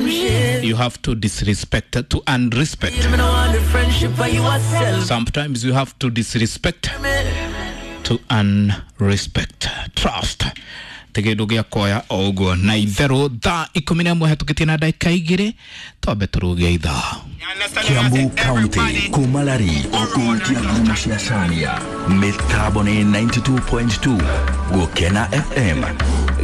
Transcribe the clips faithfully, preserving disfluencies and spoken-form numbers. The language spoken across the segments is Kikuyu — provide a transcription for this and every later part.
You have to disrespect to earn respect. Sometimes you have to disrespect to earn respect. Trust ti kĩndũ gĩa kuoya o ũguo na itherũ. Thaa ikũmi na ĩmwe hetũkĩtie na ndagĩka igĩrĩ, twambe tũrũge ithaa. Kiambu County, Kumalari, Kutia Ngumo cia Caria, mĩtambo nĩ ninety-two point two Gũkena F M.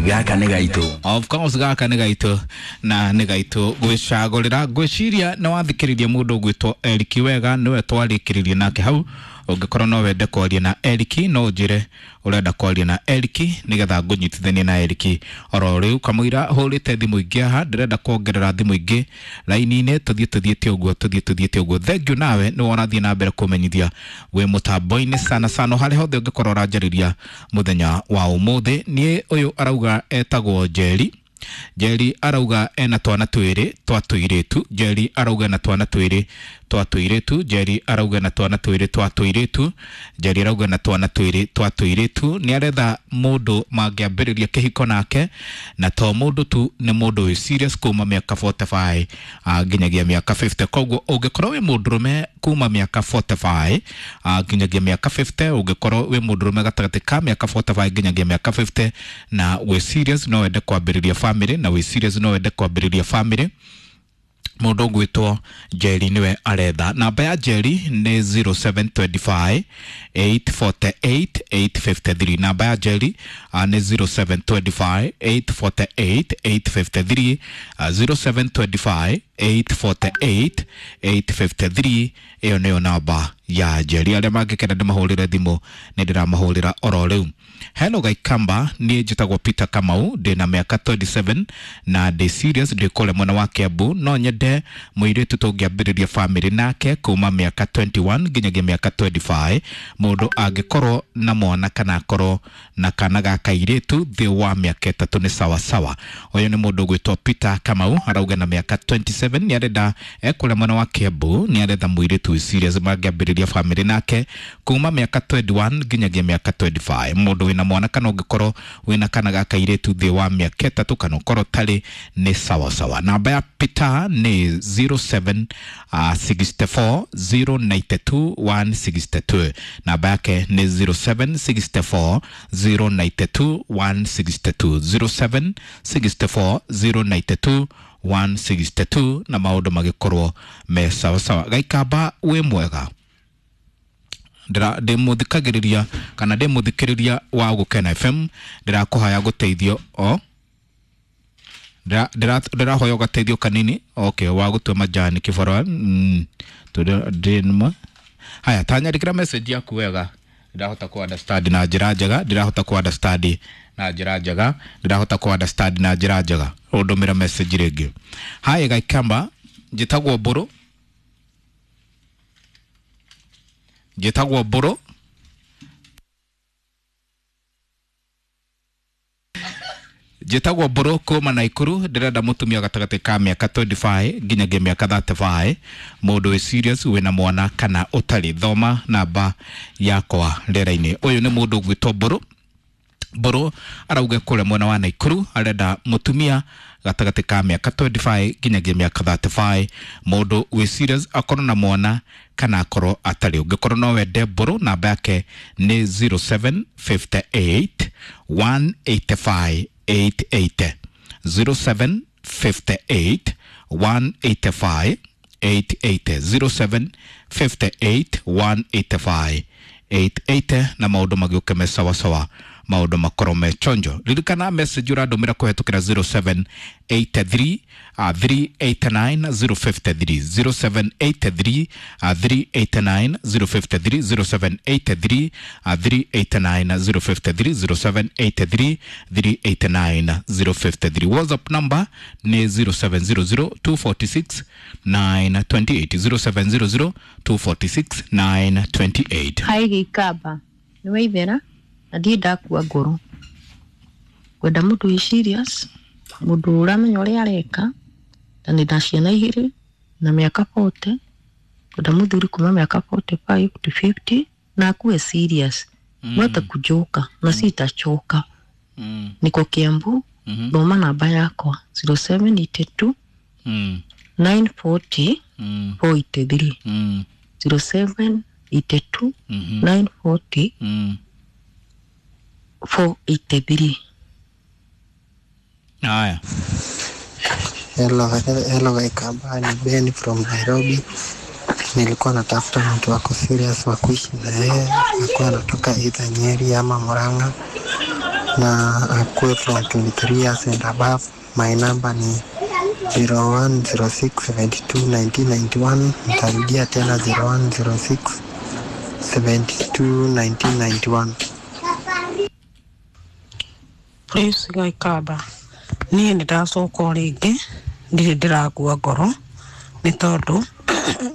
Gaka nĩ gaitũ. Of course, gaka nĩ gaitũ na nĩ gaitũ gwĩcagũrĩra. Ngwĩciria nĩ wathikĩrĩria mũndũ ũgwĩtwo Eric wega, nĩwe twarĩkĩrĩria nake hau. Ũngĩkorwo no wende kwaria na Eric, no ũnjĩre ũrenda kwaria na Eric nĩgetha ngũnyitithanie na Eric oro rĩu. Kamũira hũrĩte thimũ ingĩ haha, ndĩrenda kuongerera thimũ ingĩ raini-inĩ. Tũthiĩ tũthiĩte ũguo, tũthiĩ tũthiĩte ũguo. Thank you nawe nĩ ũrathiĩ na mbere kũmenyithia wĩ mũtambo-inĩ sana sana harĩa hothe ũngĩkorwo ũranjarĩria mũthenya wa ũmũthĩ. Niĩ ũyũ arauga etagwo Njeri. Njeri arauga ena twana twĩrĩ twa tũirĩtu. Njeri arauga ena twana twĩrĩ twa tũirĩtu. Njeri arauga ena twana twĩrĩ twa tũirĩtu. Njeri arauga ena twana twĩrĩ twa tũirĩtu. Nĩ aretha mũndũ mangĩambĩrĩria kĩhiko nake, na to mũndũ tu, nĩ mũndũ wĩ serious kuma mĩaka mĩrongo ĩna na ithano ah, nginyagia mĩaka mĩrongo ĩnana. Koguo ũngĩkorwo wĩ mũndũrũme kuma mĩaka mĩrongo ĩna na ithano ah, nginyagia mĩaka mĩrongo ĩnana, ũngĩkorwo wĩ mũndũrũme gatagatĩ ka mĩaka mĩrongo ĩna na ithano nginyagia mĩaka mĩrongo ĩnana na wĩ serious no wende kwambĩrĩria family, na wĩ serious no wende kwambĩrĩria family, mũndũ ũgwĩtwo Njeri nĩwe aretha. Namba ya Njeri nĩ zero seven two five eight four eight eight five three. Namba ya Njeri uh, nĩ zero seven two five eight four eight eight five three, uh, zero seven two five eight four eight eight five three. Ĩyo nĩyo namba ya Njeri. Arĩa mangĩkenda ndĩmahũrĩre thimũ, nĩ ndĩramahũrĩra oro rĩu. Hello Gaikamba, niĩ njĩtagwo Peter Kamau, ndĩna mĩaka mĩrongo ĩrĩ na mũgwanja na ndĩ serious, ndĩ kũrĩa mwena wa Kiambu. No nyende mũirĩtu tũngĩambĩrĩria family nake kuma mĩaka mĩrongo ĩrĩ na ĩmwe nginyagia mĩaka mĩrongo ĩrĩ na ithano. Mũndũ angĩkorwo na mwana kana akorwo na kana ga kairĩtu thĩ wa mĩaka ĩtatũ nĩ sawasawa. Ũyũ nĩ mũndũ ũgwĩtwo Peter Kamau, arauga na mĩaka mĩrongo ĩrĩ na mũgwanja nĩ arenda, ekũrĩa mwena wa Kiambu, nĩ aretha mũirĩtu wĩ serious mangĩambĩrĩria family nake kuma mĩaka mĩrongo ĩrĩ na ĩmwe nginyagia mĩaka mĩrongo ĩrĩ na ithano. Mũndũ wĩna mwana kana ũngĩkorwo wĩna kana ga kairĩtu thĩ wa mĩaka ĩtatũ kana ũkorwo tarĩ nĩ sawasawa. Namba ya Peter nĩ zero seven uh, six four zero nine two one six two. Namba yake nĩ zero seven six four zero nine two one six two, zero seven six four zero nine two one six two, na maũndũ magĩkorwo me sawasawa. Gaikamba wĩ mwega, ndĩ mũthikagĩrĩria kana ndĩ mũthikĩrĩria wa Gũkena F M, ndĩrakũhaya gũteithio o ndĩrahoya ũgateithio kanini. Okay, wa gũtua majani kĩbarũa mm, ndĩnma haya, tanyandĩkĩra message yaku wega, ndĩrahota ku understand na njĩra njega, ndĩrahota ku understand na njĩra njega, ndĩrahota ku understand na njĩra njega. Ũndũmĩra message rĩngĩ. Haya Gaikamba, njĩtagwo Mbũrũ, njĩtagwo Mbũrũ, njĩtagwo Mbũrũ kuma Naikuru. Ndĩrenda mũtumia gatagatĩ ka mĩaka mĩrongo ĩrĩ na ithano nginyagia mĩaka mĩrongo ĩtatũ, mũndũ wĩ serious, wĩna mwana kana ũtarĩ. Thoma namba yakwa rĩera-inĩ. Ũyũ nĩ mũndũ ũgwĩtwo Mbũrũ. Mbũrũ arauga kũrĩa mwena wa Naikuru arenda mũtumia gatagatĩ ka mĩaka mĩrongo ĩrĩ na ithano nginyagia mĩaka mĩrongo ĩtatũ, mũndũ wĩ serious, akorwo na mwana kana akorwo atarĩ. Ũngĩkorwo no wende Mbũrũ, namba yake nĩ zero seven five eight one eight five eight eight zero, zero seven five eight one eight five eight eight zero, zero seven five eight one eight five eight eight, na maũndũ magĩũke me sawasawa, maũndũ makorwo me chonjo. Ririkana message ũrandũmĩra kũhetũkĩra zero seven eight three uh, three eight nine zero five three, zero seven eight three uh, three eight nine zero five three, zero seven eight three uh, three eight nine zero five three, zero seven eight three three eight nine zero five three. WhatsApp number ni zero seven zero zero two four six nine two eight, zero seven zero zero two four six nine two eight. Hi Gĩikamba, nĩ waithera na ndirĩ ndakua ngoro. Ngwenda mũndũ wĩ serious, mũndũ ũramenya ũrĩa areka, na ndĩna ciana igĩrĩ na mĩaka mĩrongo ĩna. Ngwenda mũthuri kuma mĩaka forty-five to fifty na akuwe serious. Mwete kujoka na sitachoka. Mm. Niko Kiambu, Mhm. thoma namba yakwa zero seven eight two Mm. nine forty Mm. four eighty three Mm. zero seven eighty two Mhm. nine forty Mm. four eighty three. Haya. Hello, hello Kaikamba, ni Ben from Nairobi. Nilikuwa natafuta mtu wako serious wa kuishi na yeye, akuwa anatoka either Nyeri ama Murang'a na akuwe from twenty-three years and above. My number ni zero one zero six seventy-two nineteen ninety-one. Nitarudia tena zero one zero six seventy-two nineteen ninety-one. Please Gaikamba, niĩ nĩ ndacoka o rĩngĩ, ndirĩ ndĩrakua ngoro nĩ tondũ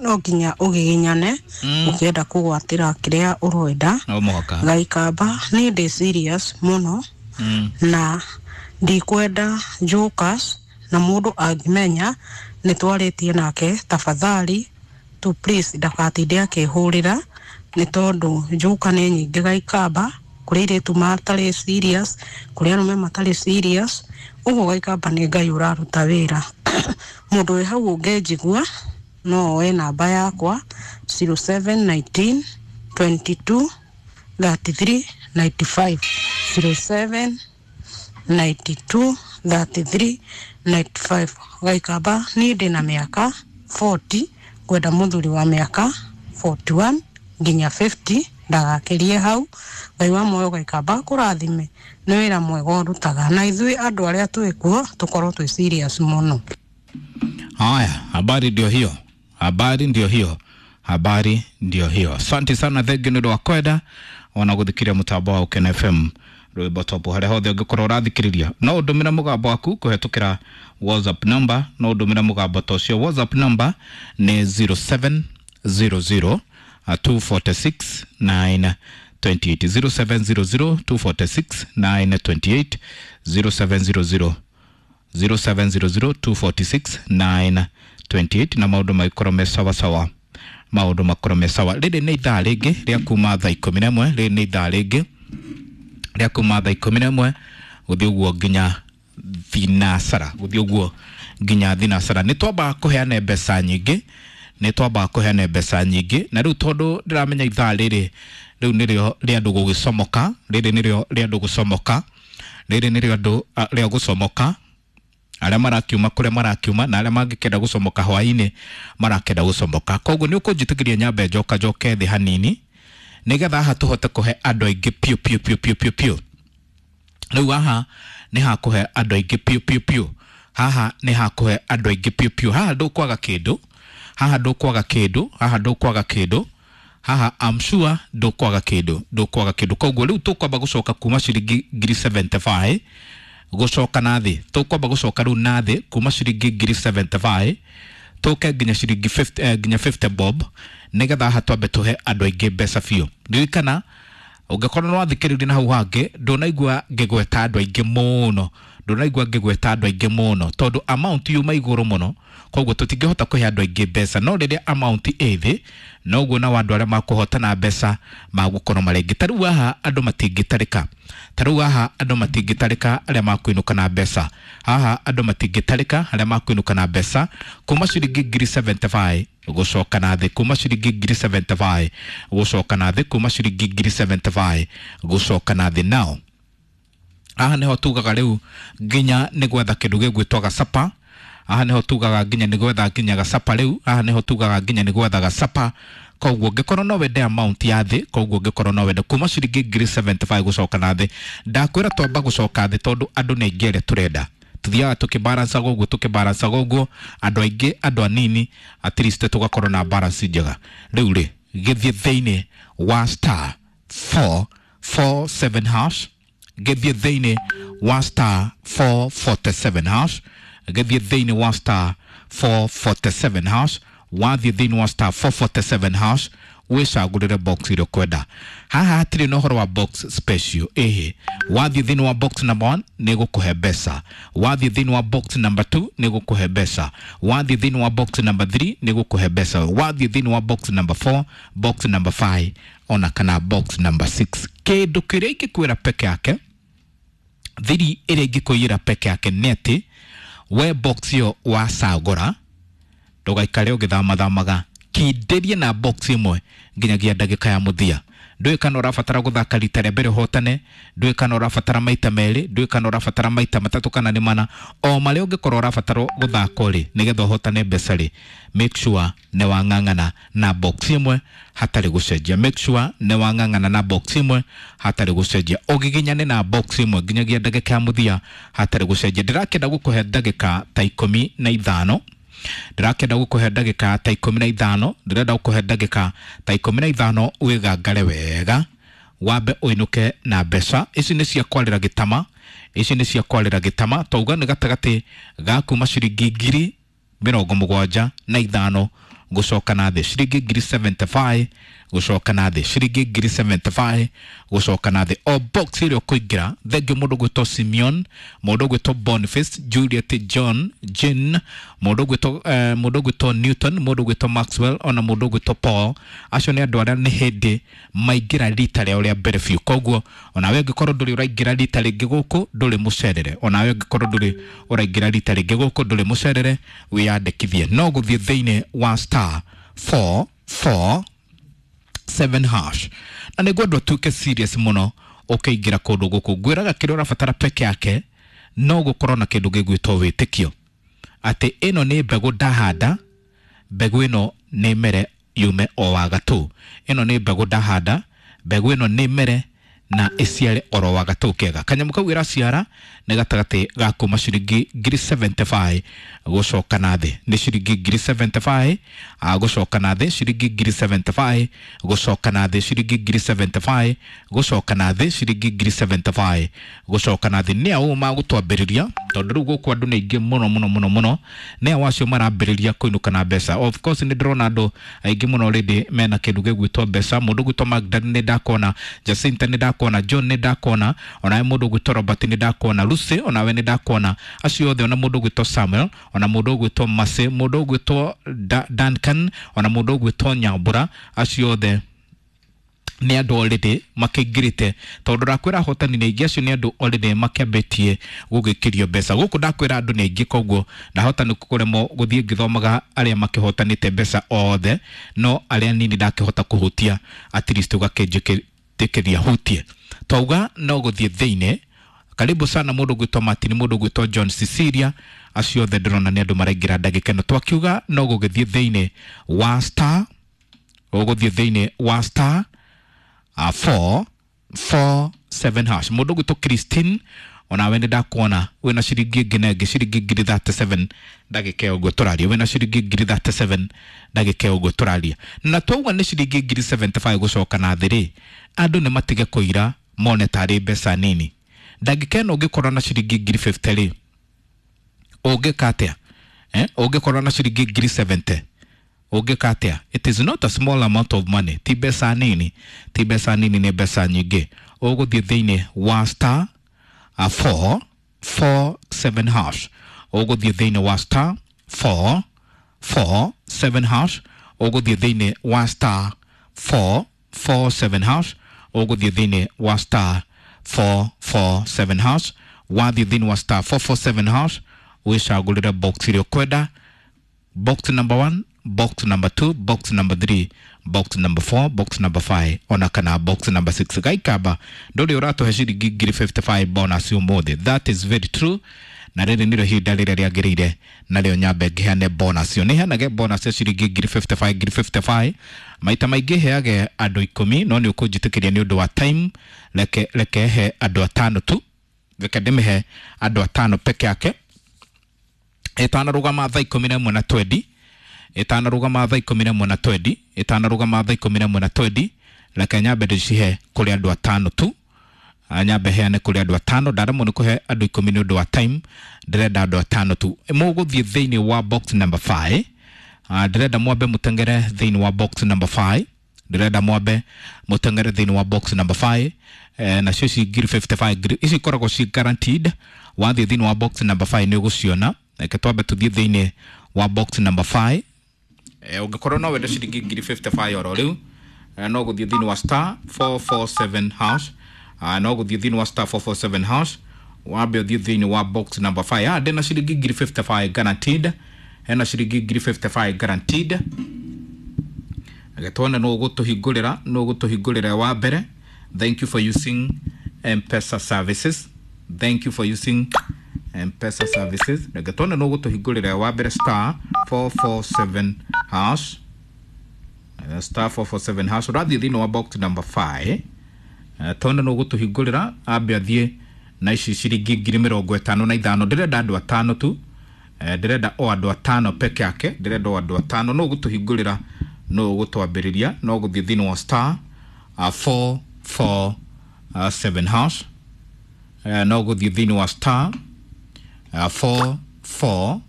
no nginya ũgiginyane Mm. ũkĩenda kũgwatĩra kĩrĩa ũrenda. No mũhaka. Gaikamba, niĩ ndĩ serious mũno Mm. na ndikwenda jokers, na mũndũ angĩmenya nĩ twarĩtie nake, tafadhali tu please ndakatinde akĩhũrĩra nĩ tondũ njoka nĩ nyingĩ Gaikamba, kũrĩ airĩtu matarĩ serious, kũrĩ arũme matarĩ serious, ũguo Gaikamba nĩ Ngai ũraruta wĩra. Mũndũ wĩ hau ũngĩnjigua no oe namba yakwa zero seven nineteen twenty two thirty three ninety five, zero seven ninety two thirty three ninety five. Gaikamba, niĩ ndĩ na mĩaka forty, ngwenda mũthuri wa mĩaka forty one nginya fifty, ndagakĩrie hau. Ngai wa muoyo Gaikamba kũrathime nĩ wĩra mwega ũrutaga, na ithuĩ andũ arĩa twĩ kuo tũkorwo twĩ serious mũno. Haya, habari ndio hiyo, habari ndio hiyo, habari ndio hiyo. Asante sana thengi nĩ ũndũ wa kwenda ona gũthikĩria mũtambo wa Ũkena F M rwĩmbo top harĩa hothe ũngĩkorwo ũrathikĩrĩria. No ũndũmĩre mũgambo waku kũhetũkĩra WhatsApp number, no ũndũmĩre mũgambo ta ũcio. WhatsApp number nĩ zero seven zero zero two four six nine twenty eight, zero seven zero zero two four six nine twenty eight, zero seven zero zero zero seven zero zero two four six nine twenty eight, na maũndũ magĩkorwo me sawa sawa, maũndũ makorwo me sawa. Rĩrĩ nĩ ithaa rĩngĩ rĩa kuma thaa ikũmi na ĩmwe, rĩrĩ nĩ ithaa rĩngĩ rĩa kuma thaa ikũmi na ĩmwe gũthiĩ ũguo nginya thinacara, gũthiĩ ũguo nginya thinacara. Nĩ twamba kũheana mbeca nyingĩ, nĩ twamba kũheana mbeca nyingĩ, na rĩu tondũ ndĩramenya ithaa rĩrĩ rĩu nĩrĩo rĩa andũ gũgĩcomoka, rĩrĩ nĩrĩo rĩa andũ gũcomoka, rĩrĩ nĩrĩo andũ rĩa gũcomoka, arĩa marakiuma kũrĩa marakiuma na arĩa mangĩkenda gũcomoka hwaĩ-inĩ marakenda gũcomoka. Koguo nĩ ũkũnjĩtĩkĩria nyambe njoka njoke thĩ hanini nĩgetha haha tũhote kũhe andũ aingĩ piũ piũ piũ piũ piũ piũ. Rĩu haha nĩ hakũhe andũ aingĩ piũ piũ piũ, haha nĩ hakũhe andũ aingĩ piũ piũ. Haha ndũkwaga kĩndũ, haha ndũkwaga kĩndũ, haha ndũkwaga kĩndũ, haha I'm sure ndũkwaga kĩndũ, ndũkwaga kĩndũ. Koguo rĩu tũkwamba gũcoka kuma ciringi ngiri seventy five gũcoka na thĩ, tũkwamba gũcoka rĩu na thĩ kuma ciringi ngiri seventy five tũke nginya ciringi fifty, eh, nginya fifty bob, nĩgetha haha twambe tũhe andũ aingĩ mbeca biũ. Ririkana ũngĩkorwo nĩ wathikĩrĩria na hau hangĩ, ndũnaigua ngĩgweta andũ aingĩ mũno, ndũnaigua ngĩgweta andũ aingĩ mũno tondũ amount yuma igũrũ mũno, koguo tũtingĩhota kũhe andũ aingĩ mbeca. No rĩrĩa amount ĩ thĩ, noguo nao andũ arĩa makũhotana mbeca magũkorwo marĩ aingĩ. Ta rĩu haha andũ matingĩtarĩka, ta rĩu haha andũ matingĩtarĩka arĩa makũinũka na mbeca, haha andũ matingĩtarĩka arĩa makũinũka na mbeca kuma ciringi ngiri seventy five gũcoka na thĩ, kuma ciringi ngiri seventy five gũcoka na thĩ, kuma ciringi ngiri seventy five gũcoka na thĩ. Nao haha nĩho tugaga rĩu nginya nĩ gwetha kĩndũ gĩgwĩtwo gacapa, haha nĩho tugaga nginya nĩ gwetha nginya gacapa rĩu, haha nĩho tugaga nginya nĩ gwetha gacapa. Koguo ũngĩkorwo no wende amount ya thĩ, koguo ũngĩkorwo no wende kuma ciringi ngiri seventy five gũcoka na thĩ, ndakwĩra twamba gũcoka thĩ tondũ andũ nĩ aingĩ arĩa tũrenda. Tuthiaga tũkĩbalancaga ũguo, tũkĩbalancaga ũguo, andũ aingĩ andũ anini, at least tũgakorwo na balance njega. Rĩu rĩ gĩthiĩ thĩinĩ wa star four four seven hash, gĩthiĩ thĩinĩ wa star four forty seven hash, gĩthiĩ thĩinĩ wa star four forty seven hash, wathiĩ thĩinĩ wa star four forty seven hash wĩcagũrĩre box ĩrĩa ũkwenda. Haha hatirĩ na ũhoro wa box special, ĩhĩ. Wathiĩ thĩinĩ wa box number one nĩ gũkũhe mbeca, wathiĩ thĩinĩ wa box number two nĩ gũkũhe mbeca, wathiĩ thĩinĩ wa box number three nĩ gũkũhe mbeca, wathiĩ thĩinĩ wa box number four, box number five ona kana box number six. Kĩndũ kĩrĩa ingĩkwĩra peke yake, thiri ĩrĩa ingĩkũiyĩra peke yake nĩ atĩ We box ĩyo wacagũra ndũgaikare ũgĩthamathamaga, kindĩrie na box ĩmwe nginyagia ndagĩka ya mũthia. Ndũĩ kana ũrabatara gũthaka rita rĩa mbere ũhotane, ndũĩ kana ũrabatara maita merĩ, ndũĩ kana ũrabatara maita matatũ kana nĩ mana, o marĩa ũngĩkorwo ũrabatara gũthaka rĩ nĩgetha ũhotane mbeca rĩ, make sure nĩ wang'ang'ana na box ĩmwe hatarĩ gũcenjia. Make sure nĩ wang'ang'ana na box ĩmwe hatarĩ gũcenjia, ũgiginyane na box ĩmwe nginyagia ndagĩka ya mũthia hatarĩ gũcenjia. Ndĩrakĩenda gũkũhe ndagĩka ta ikũmi na ithano, ndĩrakĩenda gũkũhe ndagĩka ta ikũmi na ithano, ndĩrenda gũkũhe ndagĩka ta ikũmi na ithano wĩgangare wega, wambe ũinũke na mbeca ici. Nĩ cia kwarĩra gĩtama, ici nĩ cia kwarĩra gĩtama. Twauga nĩ gatagatĩ ga kuma ciringi ngiri mĩrongo mũgwanja na ithano gũcoka na thĩ, ciringi ngiri seventy-five gũcoka na thĩ, ciringi ngiri seventy-five gũcoka na thĩ. O box ĩrĩa ũkũingĩra, thengio mũndũ gwĩtwo Simeon, mũndũ gwĩtwo Boniface, Juliet, John, Jane, mũndũ gwĩtwo eh, mũndũ gwĩtwo Newton, mũndũ gwĩtwo Maxwell, ona mũndũ gwĩtwo Paul. Acio nĩ andũ arĩa nĩ hĩndĩ maingĩra rita rĩao rĩa mbere biũ. Koguo onawe ũngĩkorwo ndũrĩ ũraingĩra rita rĩngĩ gũkũ, ndũrĩ mũcerere. Onawe ũngĩkorwo ndũrĩ ũraingĩra rita rĩngĩ gũkũ, ndũrĩ mũcerere, wĩyandĩkithie. No gũthiĩ thĩinĩ wa star four four seven hash, na nĩguo andũ atuĩke serious mũno ũkĩingĩra kũndũ gũkũ. Ngwĩraga kĩrĩa ũrabatara peke yake no gũkorwo na kĩndũ gĩgwĩtwo wĩtĩkio atĩ ĩno nĩ mbegũ ndahanda, mbegũ ĩno nĩ mere yume o wagatũ. Ĩno nĩ mbegũ ndahanda, mbegũ ĩno nĩ mere na ĩciare oro wagatũ kega. Kanyamũ kau ĩraciara nĩ gatagatĩ ga kuma ciringi ngiri seventy-five gũcoka na thĩ, nĩ ciringi ngiri seventy-five gũcoka na thĩ, ciringi ngiri seventy-five gũcoka na thĩ, ciringi ngiri seventy-five gũcoka na thĩ, ciringi ngiri seventy-five gũcoka na thĩ. Nĩ aũ magũtwambĩrĩria? Tondũ rĩu gũkũ andũ nĩ aingĩ mũno mũno mũno mũno. Nĩ aũ acio marambĩrĩria kũinũka na mbeca? Of course nĩ ndĩrona andũ aingĩ mũno already mena kĩndũ gĩgwĩtwo mbeca. Mũndũ gwĩtwo Magda nĩ ndakona, Jacinta nĩ ndakona, John nĩ ndakona, onawe mũndũ gwĩtwo Robert nĩ ndakona, Lucy onawe nĩ ndakona, acio othe, ona mũndũ gwĩtwo Samuel, ona mũndũ gwĩtwo Mase, mũndũ gwĩtwo da Duncan, ona mũndũ gwĩtwo Nyambura, acio othe nĩ andũ already makĩingĩrĩte. Tondũ ndakwĩra ahotani nĩ aingĩ, acio nĩ andũ already makĩambĩtie gũgĩkĩrio mbeca gũkũ. Ndakwĩra andũ nĩ aingĩ, koguo ndahota nĩ kũremwo gũthiĩ ngĩthomaga arĩa makĩhotanĩte mbeca othe, no arĩa nini ndakĩhota kũhutia at least ũgakĩnjĩtĩkĩria hutie. Twauga no gũthiĩ thĩinĩ. Karibu sana mũndũ gwĩtwo Martin, mũndũ gwĩtwo John, Cecilia, acio othe ndĩrona nĩ andũ maraingĩra ndagĩka ĩno. Twakiuga no gũgĩthiĩ thĩinĩ wa star, ũgũthiĩ thĩinĩ wa star uh, four four seven hash. Mũndũ gwĩtwo Christine, onawe nĩ ndakuona wĩna ciringi ĩngĩ na ĩngĩ, ciringi ngiri thirty-seven ndagĩka ĩyo ũguo tũraria, wĩna ciringi ngiri thirty-seven ndagĩka ĩyo ũguo tũraria. Na twauga nĩ ciringi ngiri seventy-five gũcoka na thĩ rĩ, andũ nĩ matige kũira mone tarĩ mbeca nini. Ndagĩka ĩno ũngĩkorwo na ciringi ngiri fifty rĩ, ũngĩka atĩa? Eh, ũngĩkorwo na ciringi ngiri seventy ũngĩka atĩa? It is not a small amount of money, ti mbeca nini, ti mbeca nini, nĩ mbeca nyingĩ. Ũgũthiĩ thĩinĩ wa star uh, four four seven hash, ũgũthiĩ thĩinĩ wa star four four seven hash, ũgũthiĩ thĩinĩ wa star four four seven hash, ũgũthiĩ thĩinĩ wa star four four seven hash. Wathiĩ thĩinĩ wa star four four seven hash, wĩcagũrĩre box ĩrĩa ũkwenda, box number one, box number two, box number three, box number four, box number five, ona kana box number six. Gaikaba ndũrĩ ũratũhe ciringi ngiri fifty-five bonus ũmũthĩ. That is very true, na rĩrĩ nĩrĩo ihinda rĩrĩa rĩagĩrĩire narĩo nyambe ngĩheane bonus ĩyo. Nĩ heanage bonus ya ciringi ngiri fifty-five, ngiri fifty-five maita maingĩ heage andũ ikũmi, no nĩ ũkũnjĩtĩkĩria nĩ ũndũ wa time, reke reke he andũ atano tu, reke ndĩmĩhe andũ atano peke yake. Ĩtanarũgama thaa ikũmi na ĩmwe na twendi, ĩtanarũgama thaa ikũmi na ĩmwe na twendi, ĩtanarũgama thaa ikũmi na ĩmwe na twendi, reke nyambe ndĩcihe kũrĩ andũ atano tu. Nyambe heane kũrĩ andũ atano, ndaremwo nĩ kũhe andũ ikũmi nĩ ũndũ wa time, ndĩrenda andũ atano tu. Mũgũthiĩ thĩinĩ wa box number five, ndĩrenda mwambe mũtengere thĩinĩ wa box number five, ndĩrenda mwambe mũtengere thĩinĩ wa box number five. Eh, nacio ici ngiri fifty-five ngiri ici ikoragwo ci guaranteed. Wathiĩ thĩinĩ wa box number five nĩ ũgũciona. Reke twambe tũthiĩ thĩinĩ wa box number five. Eh, ũngĩkorwo no wende ciringi ngiri fifty-five oro rĩu, eh, no gũthiĩ thĩinĩ wa star four four seven hash, uh, no gũthiĩ thĩinĩ wa star four four seven hash, Wambe ũthiĩ thĩinĩ wa box number five. Ah, ndĩna ciringi ngiri fifty-five guaranteed. Hena ciringi ngiri fifty-five guaranteed. Reke tuone nũ ũgũtũhingũrĩra, nũ ũgũtũhingũrĩra wa mbere. Thank you for using M-Pesa services. Thank you for using M-Pesa services. Reke tuone nũ ũgũtũhingũrĩra wa mbere star four four seven hash. Uh, star four four seven hash. Ũrathiĩ thĩinĩ wa box number five. Uh, tuone nũ ũgũtũhingũrĩra ambe athiĩ na ici ciringi ngiri mĩrongo ĩtano na ithano. Ndĩrenda andũ atano tu. Eh, ndĩrenda o andũ atano peke yake. Ndĩrenda o andũ atano. Nũ ũgũtũhingũrĩra, nũ ũgũtwambĩrĩria, no gũthiĩ thĩinĩ wa star, uh, four four, uh, seven hash. Eh, no gũthiĩ thĩinĩ wa star, uh, four four,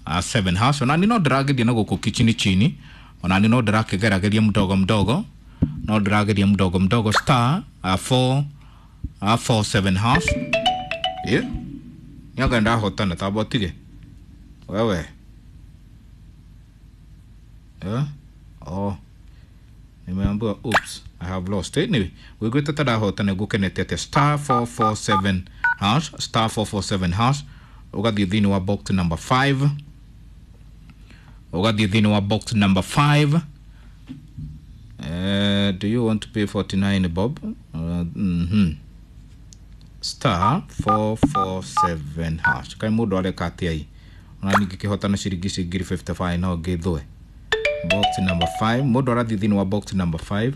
uh, seven hash. Ona ni no ndĩrageria na gũkũ kichini chini. Ona ni no ndĩrakĩgerageria mdogo mdogo. No ndĩrageria mdogo mdogo star, uh, four, uh, four seven hash. Yeah. Nyaga ndahotana tabotige. Wewe. Yeah. Oh. Nimeambiwa oops, I have lost. Anyway, wiguĩte ta ndahotana ngũkenete atĩa. Star four four seven hash, star four four seven hash. Ũgathiĩ thĩinĩ wa box number five. Ũgathiĩ thĩinĩ wa box number five. Uh, do you want to pay forty-nine bob? Uh, mm-hmm. Star four four seven hash. Kai mũndũ areka atĩa ĩ? Ona ningĩ kĩhotana ciringi ici ngiri fifty-five no ngĩthũe. Box number five. Mũndũ arathiĩ thĩinĩ wa box number five.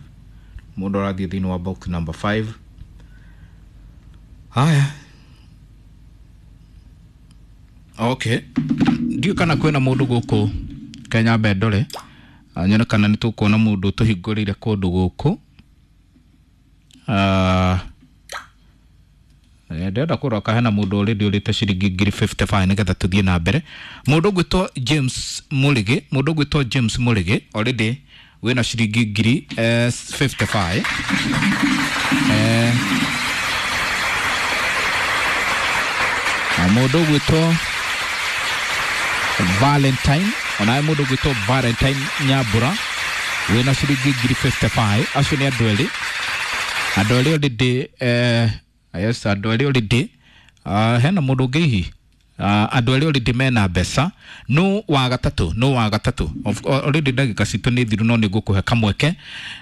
Mũndũ arathiĩ thĩinĩ wa box number five. Haya. Okay. Ndiũ kana kwĩna mũndũ gũkũ Kenya Bendore. Nyone kana nĩ tũkuona mũndũ tũhingũrĩire kũndũ gũkũ. Ah, ndĩrenda kũrora hena mũndũ already ũrĩte ciringi ngiri fifty-five nĩgetha tũthiĩ na mbere. Mũndũ ũgwĩtwo James Mũrĩgĩ, mũndũ ũgwĩtwo James Mũrĩgĩ already wĩna ciringi ngiri, eh, fifty-five. Eh, na mũndũ ũgwĩtwo Valentine, onawe mũndũ ũgwĩtwo Valentine Nyambura wĩna ciringi ngiri fifty-five. Acio nĩ andũ erĩ. Andũ erĩ already, eh, yes, andũ erĩ already. Uh, hena mũndũ ũngĩ hihi? Uh, andũ erĩ already mena mbeca. No wa gatatũ, no wa gatatũ. Of, already ndagĩka citũ nĩ thiru, no nĩ ngũkũhe kamweke,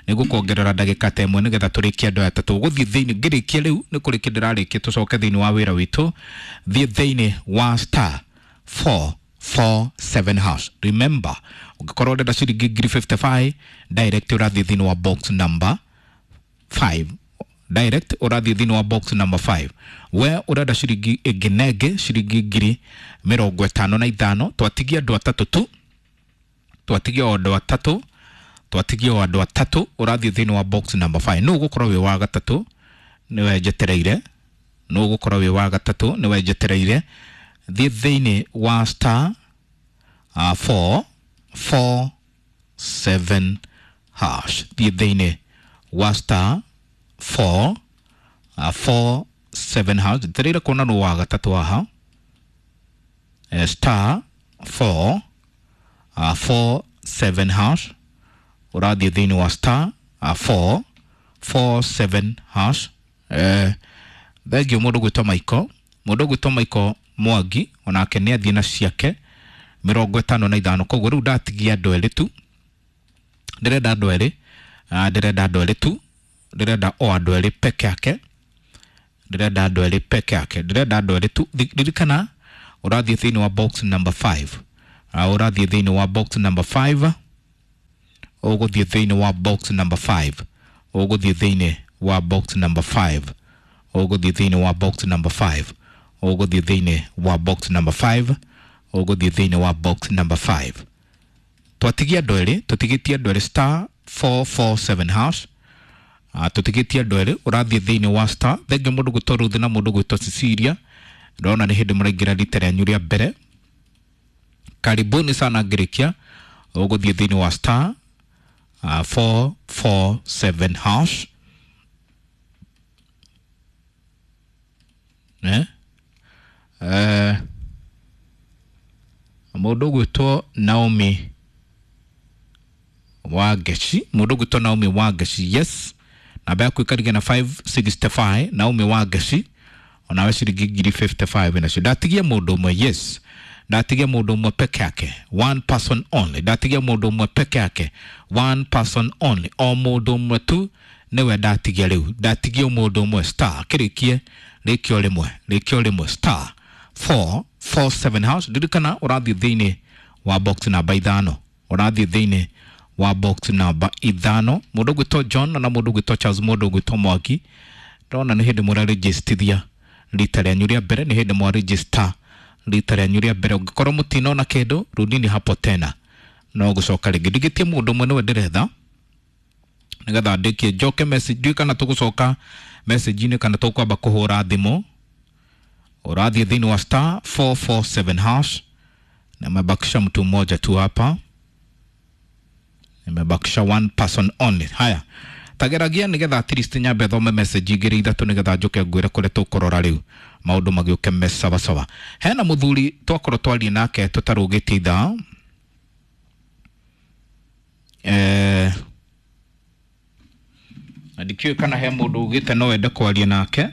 nĩ ngũkuongerera ndagĩka ta ĩmwe nĩgetha tũrĩkie andũ aya atatũ. Gũthiĩ thĩinĩ, ngĩrĩkia rĩu nĩ kũrĩkia ndĩrarĩkia, tũcoke thĩinĩ wa wĩra witũ. Thiĩ thĩinĩ wa star four four seven hash. Remember, ũngĩkorwo ũrenda ciringi ngiri fifty-five, direct ũrathiĩ thĩinĩ wa box number five. Direct ũrathiĩ thĩinĩ wa box number five. We ũrenda ciringi ĩngĩ na ĩngĩ, ciringi ngiri mĩrongo ĩtano na ithano. Twatigia andũ atatũ tu. Twatigia o andũ atatũ. Twatigia o andũ atatũ. Ũrathiĩ thĩinĩ wa box number five. Nũ ũgũkorwo wĩ wa gatatũ? Nĩwe njetereire. Nũ ũgũkorwo wĩ wa gatatũ? Nĩwe njetereire. Thiĩ thĩinĩ wa star, uh, four four seven hash. Thiĩ thĩinĩ wa star four, uh, four seven hash. Njetereire kuona nũ wa gatatũ haha. Eh, star four, uh, four seven hash. Ũrathiĩ thĩinĩ wa star, uh, four four seven hash. Eh, thengio mũndũ gwĩtwo Michael. Mũndũ gwĩtwo Michael Mwangi onake nĩ athiĩ na ciake mĩrongo ĩtano na ithano. Koguo rĩu ndatigia andũ erĩ tu. Ndĩrenda andũ erĩ. Ah, ndĩrenda andũ erĩ tu. Ndĩrenda o andũ erĩ peke yake. Ndĩrenda andũ erĩ peke yake. Ndĩrenda andũ erĩ tu. Ririkana ũrathiĩ thĩinĩ wa box number five. Ah, ũrathiĩ thĩinĩ wa box number five. Ũgũthiĩ thĩinĩ wa box number five. Ũgũthiĩ thĩinĩ wa box number five. Ũgũthiĩ thĩinĩ wa box number five. Ũgũthiĩ thĩinĩ wa box number five. Ũgũthiĩ thĩinĩ wa box number five. Twatigia andũ erĩ, tũtigĩtie andũ erĩ star four four seven hash. Ah, tũtigĩtie andũ erĩ, ũrathiĩ thĩinĩ wa star. Thengia mũndũ gwĩtwo Ruth na mũndũ gwĩtwo Cecilia. Ndĩrona nĩ hĩndĩ mũraingĩra rita rĩanyu rĩa mbere. Karibuni sana ngĩrĩkia. Ũgũthiĩ thĩinĩ wa star, uh, four four seven hash. Eh? Eh, mũndũ gwĩtwo Naomi Wangeci, mũndũ gwĩtwo Naomi Wangeci, yes. Namba yaku ĩkarigana na five sixty-five, Naomi Wangeci. Onawe ciringi ngiri fifty five nacio. Ndatigia mũndũ ũmwe, yes, ndatigia mũndũ ũmwe peke yake, one person only. Ndatigia mũndũ ũmwe peke yake, one person only, o mũndũ ũmwe tu nĩwe ndatigia rĩu. Ndatigia mũndũ ũmwe. Star kĩrĩkie rĩkio rĩmwe, rĩkio rĩmwe, star four four seven hash. Ririkana ũrathiĩ thĩinĩ wa box namba ithano, ũrathiĩ thĩinĩ wa box namba ithano. Mũndũ ũgwĩtwo John na mũndũ ũgwĩtwo Charles, mũndũ ũgwĩtwo Mwangi, ndona nĩ hĩndĩ mũrarĩjĩstithia rita rĩanyu rĩa mbere, nĩ hĩndĩ mwarĩjĩsta rita rĩanyu rĩa mbere. Ũngĩkorwo mũtinona kĩndũ, rudini hapo tena, no gũcoka rĩngĩ. Ndigĩtie mũndũ ũmwe nĩwe ndĩretha nĩgetha ndĩkie njoke message. Ndiũĩ kana tũgũcoka message-inĩ kana tũkwamba kũhũra thimũ. Ũrathiĩ thĩinĩ wa star four four seven hash. Nimebakisha mtu mmoja tu hapa, nimebakisha one person only. Haya, tageragia nigetha at least nyambe thome message igĩrĩ ithatũ nĩgetha njũke ngwĩre kũrĩa tũkũrora rĩu maũndũ magĩũke me sawasawa. Hena mũthuri twakorwo twarie nake tũtarũgĩtie ithaa, eh, na ndikĩũĩ kana he mũndũ ugĩte no wende kwaria nake.